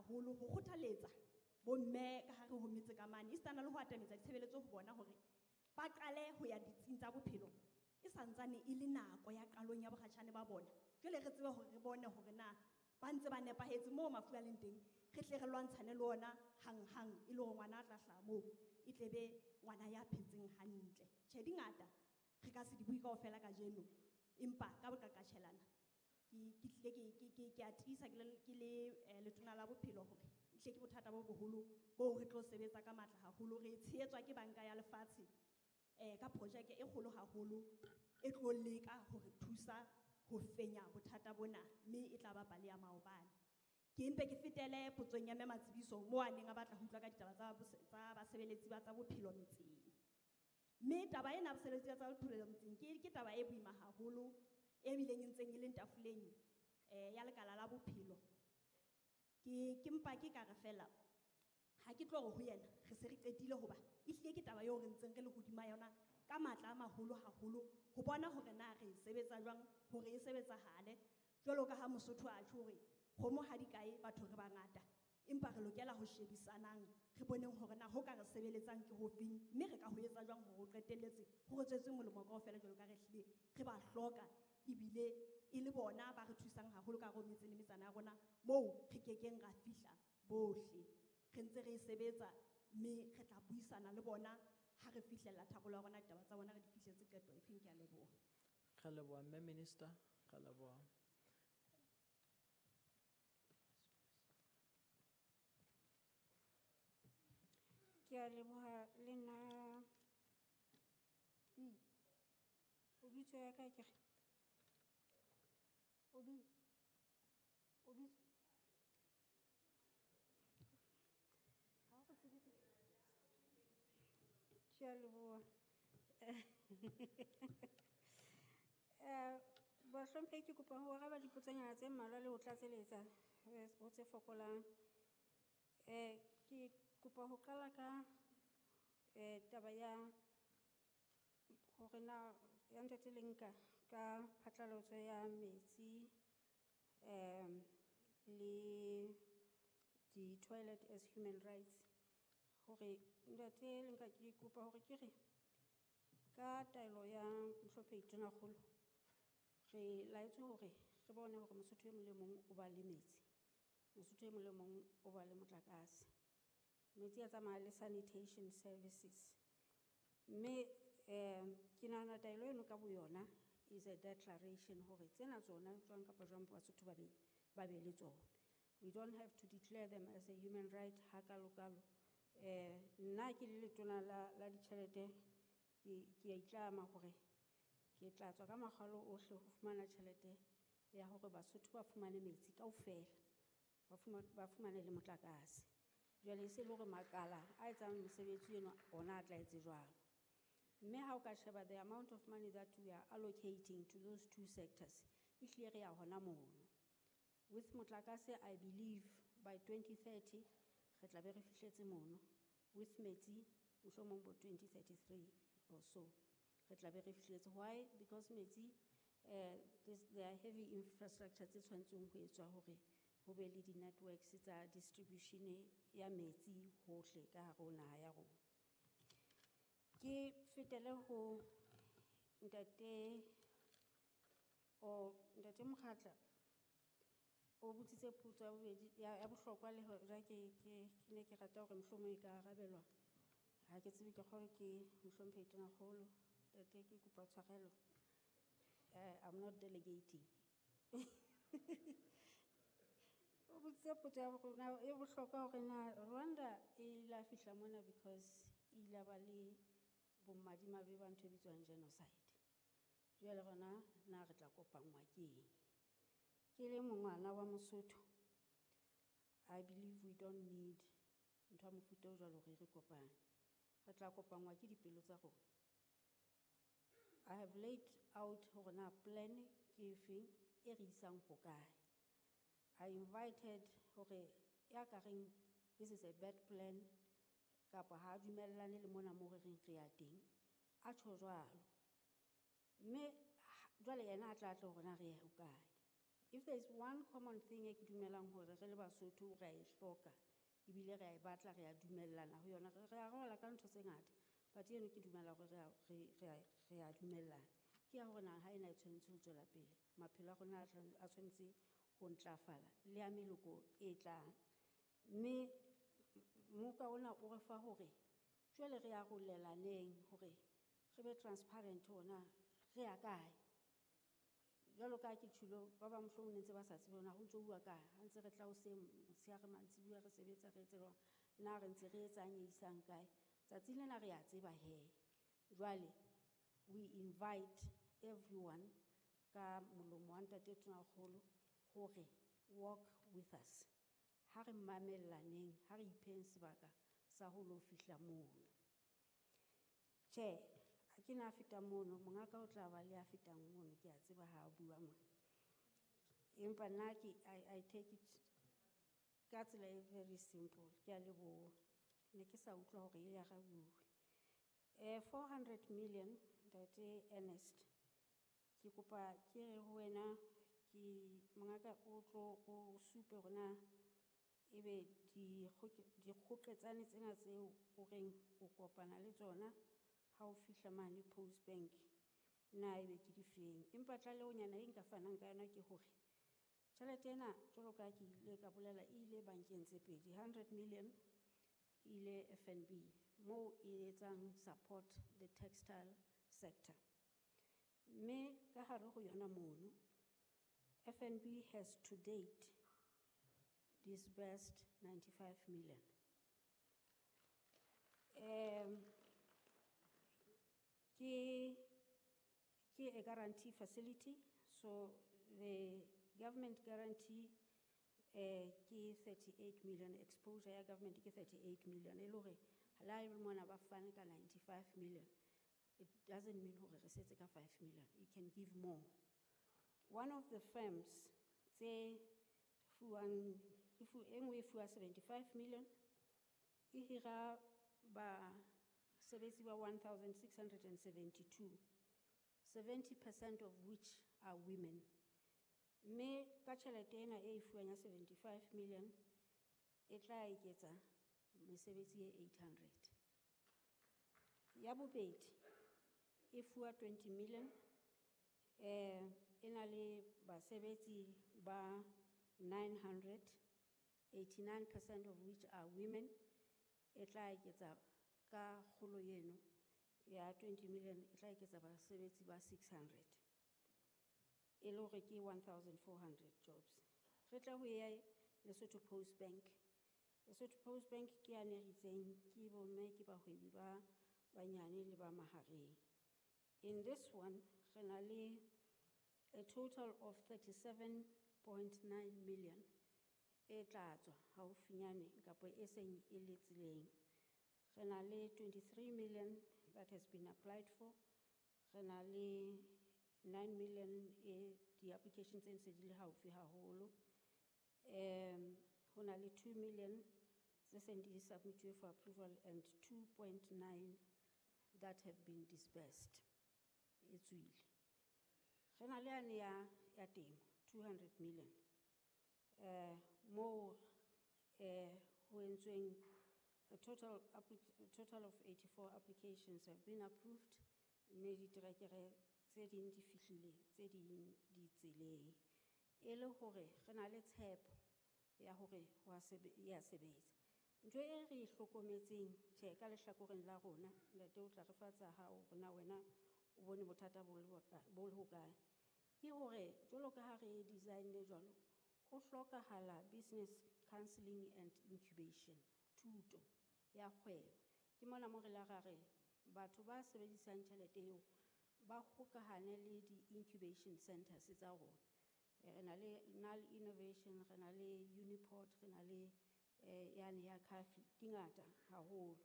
haholo ho kgothaletsa bomme ka hare ho metse ka mane, esitana le ho atametsa ditshebeletso ho bona hore ba qale ho ya ditsing tsa bophelo e santsane e le nako ya qalong ya bokgatjhane ba bona. Jwale re tsebe hore re bone hore na ba ntse ba nepahetse moo mafu a leng teng, re tle re lwantshane le ona hanghang e le hore ngwana a tla hlaha moo e tle be ngwana ya phetseng hantle. Tjhe, di ngata re ka se di bue kaofela kajeno, empa ka boqaqatjhelana ke tlile ke a tiisa ke le letona la bophelo hore ehlile ke bothata bo boholo boo re tlo sebetsa ka matla haholo. Re tshehetswa ke banka ya lefatshe ka projeke e kgolo haholo e tlo leka hore thusa ho fenya bothata bona, mme e tla ba pale ya maobane. Ke mpe ke fetele potsong ya Mme Matsibiso moo a neng a batla ho utlwa ka ditaba tsa basebeletsi ba tsa bophelo metseng. Mme taba ena ya basebeletsi ba tsa bophelo metseng ke taba e boima haholo e bileng e ntseng e leng tafoleng ya lekala la bophelo. Ke mpa ke ka re fela ha ke tlo re ho yena re se re qetile, hoba ehlile ke taba eo re ntseng re le hodima yona ka matla a maholo haholo ho bona hore na re e sebetsa jwang hore e sebetsahale. Jwalo ka ha Mosotho a tjho hore kgomo ha di kae batho re bangata, empa re lokela ho shebisanang re boneng hore na ho ka re sebeletsang ke hofeng, mme re ka ho etsa jwang hore o qetelletse ho re tswetse molemo kaofela jwalo ka re hlile re ba hloka, ebile e le bona ba re thusang haholo ka hare ho metse le metsana ya rona moo re kekeng ra fihla bohle. Re ntse re e sebetsa mme re tla buisana le bona ha re fihlella tharollo ya rona, ditaba tsa bona re di fihletse qeto efeng. Ke a leboha. Re leboha Mme Minister, re leboha. Ke a leboha le nna. O bitso ya ka ke re? O o bitso? Ha o tsebe ke. Ke a leboha. Bahlomphehi, ke kopa ho araba dipotsonyana tse mmalwa le ho tlatseletsa ho tse fokolang. Ke kopa ho qala ka taba ya hore na ya Ntate Lenka ka phatlalatso ya metsi le di-toilet as human rights. Hore Ntate Lenka, ke kopa hore ke re ka taelo ya Mohlomphehi Tonakgolo re laetswe hore re bone hore Mosotho e mong le mong o ba le metsi, Mosotho e mong le mong o ba le motlakase. Metsi a tsamaya le sanitation services. Mme ke nahana taelo eno ka boyona is a declaration hore tsena tsona jwang kapa jwang Basotho ba be le tsona. We don't have to declare them as a human right hakalokalo. Nna ke le letona la ditjhelete, ke a itlama hore ke tla tswa ka makgalo ohle ho fumana tjhelete ya hore Basotho ba fumane metsi kaofela, ba fumane le motlakase. Jwale e se le hore makala a etsang mosebetsi eno ona a tla etse jwalo. Mme ha o ka sheba the amount of money that we are allocating to those two sectors, ehlile re ya hona mono. With motlakase, I believe by 2030 re tla be re fihletse mono. With metsi, mohlomong bo 2033 or so, re tla be re fihletse. Why? Because metsi, there are heavy infrastructure tse tshwanetseng ho etswa hore ho be le di-networks tsa distribution ya metsi hohle ka hare ho naha ya rona. Ke fetele ho ntate o Ntate Mokgatla o botsitse potso ya bobedi ya bohlokwa le hore ke ne ke rata hore mohlomong e ka arabelwa. Ha ke tsebe, ke kgolwe ke Mohlomphehi Tonakgolo. Ntate, ke kopa tshwarelo. I'm not delegating. O botsitse potso ya rona e bohlokwa hore na Rwanda e la fihla mona because e ile ba le bomadimabe ba ntho e bitswang genocide. Jwale rona na re tla kopanngwa ke eng? Ke le mongwana wa Mosotho, I believe we don't need ntho ya mofuta o jwalo hore re kopane. Re tla kopanngwa ke dipelo tsa rona. I have laid out hore na plan ke efeng e re isang ho kae. I invited hore ya ka reng this is a bad plan kapa ha dumellane le mona mo re reng re ya teng, a tjho jwalo. Mme jwale yena a tla tla hore na re ya hokae. If there is one common thing e ke dumelang hore re le Basotho re a e hloka, ebile re a e batla, re a dumellana ho yona, re arola ka ntho tse ngata, but eno ke dumela hore re a dumellana. Ke ya hore naha ena e tshwanetse ho tswela pele, maphelo a rona a tshwanetse ho ntlafala le a meloko e tlang. Mme moka ona o re fa hore jwale re arolelaneng hore re be transparent hore na re ya kae. Jwalo ka ha ke tjholo, ba bang mohlomong ne ntse ba sa tsebe hore na ho ntso uwa kae, ha ntse re tla hoseng motshehare mantsibuya re sebetsa re etse jwang, na re ntse re etsang e isang kae. Tsatsing lena re a tseba he. Jwale we invite everyone ka molomo wa ntate Tonakgolo hore walk with us. Ha re mamellaneng, ha re ipheng sebaka sa ho lo fihla mono. Tjhe, ha ke na feta mono, mongaka o tla ba le a fetang mono, ke a tseba ha a bua mona. Empa nna ke, I take it ka tsela e very simple, ke a leboha. Ne ke sa utlwa hore e arabuwe. 400 million, ntate Ernest, ke kopa ke re ho wena, ke mongaka o tlo o supe hore na ebe dikgoketsane tsena tseo o reng o kopana le tsona ha o fihla mane Post Bank, na ebe ke difeng. Empa tlalehonyana e nka fanang ka yona ke hore tjhelete ena jwalo ka ha ke ile ka bolela e ile bankeng tse pedi, 100 million e ile FNB moo e etsang support the textile sector. Mme ka hare ho yona mono, FNB has to date disbursed 95 million. Ke a guarantee facility, so the government guarantee ke 38 million, exposure ya government ke 38 million. E le hore ha le mona ba fane ka 95 million, it doesn't mean hore re setse ka 5 million, it can give more. One of the firms tse fuwang, e fu, e nngwe e fuwa 75 million, e hira basebetsi ba 1,672, 70% of which are women. Mme ka tjhelete ena e fuwang ya 75 million, e tla eketsa mesebetsi e 800. Ya bobedi, e fuwa 20 million, e na le basebetsi ba 900, 89% of which are women. E tla eketsa ka kgolo eno ya 20 million, e tla eketsa basebetsi ba 600. E le hore ke 1,400 jobs. Re tla ho ya Lesotho Post Bank. Lesotho Post Bank ke ya ne re itseng ke bomme, ke bahwebi ba banyane le ba mahareng. In this one, re na le a total of 37.9 million e tla tswa haufinyane kapa e seng e le tseleng. Re na le 23 million that has been applied for. Re na le 9 million e di-applications tse ntse di le haufi haholo. Ho na le 2 million tse seng di submitted for approval and 2.9 that have been disbursed. E tswile. Re na le yane ya temo, 200 million. Moo, ho entsweng a total of 84 applications have been approved. Mme diterekere tse ding di fihlile, tse ding di tseleng. E le hore re na le tshepo ya hore ho a ya sebetsa. Ntho e re e hlokometseng, tjhe, ka lehlakoreng la rona, ntate o tla re fa tsa hao hore na wena o bone bothata bo le bo le hokae. Ke hore jwalo ka ha re design-ne jwalo, ho hlokahala business counselling and incubation, thuto ya kgwebo. Ke mona mo re la ra re batho ba sebedisang tjhelete eo ba hokahane le di-incubation centers tsa rona. Re na le Nal Innovation, re na le Uniport, re na le yane ya Cafi, di ngata haholo.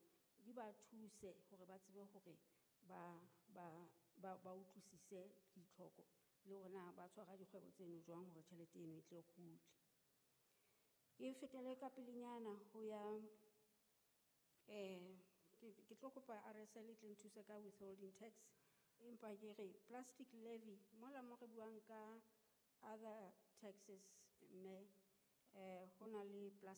Di ba thuse hore ba tsebe hore ba utlwisise ditlhoko le hore na ba tshwara dikgwebo tseno jwang hore tjhelete eno e tle kgutle. Ke fetele ka pelenyana ho ya, ke tlo kopa RSL e tle nthuse ka withholding tax, empa ke re plastic levy mola mo re buang ka other taxes, mme ho na le plastic.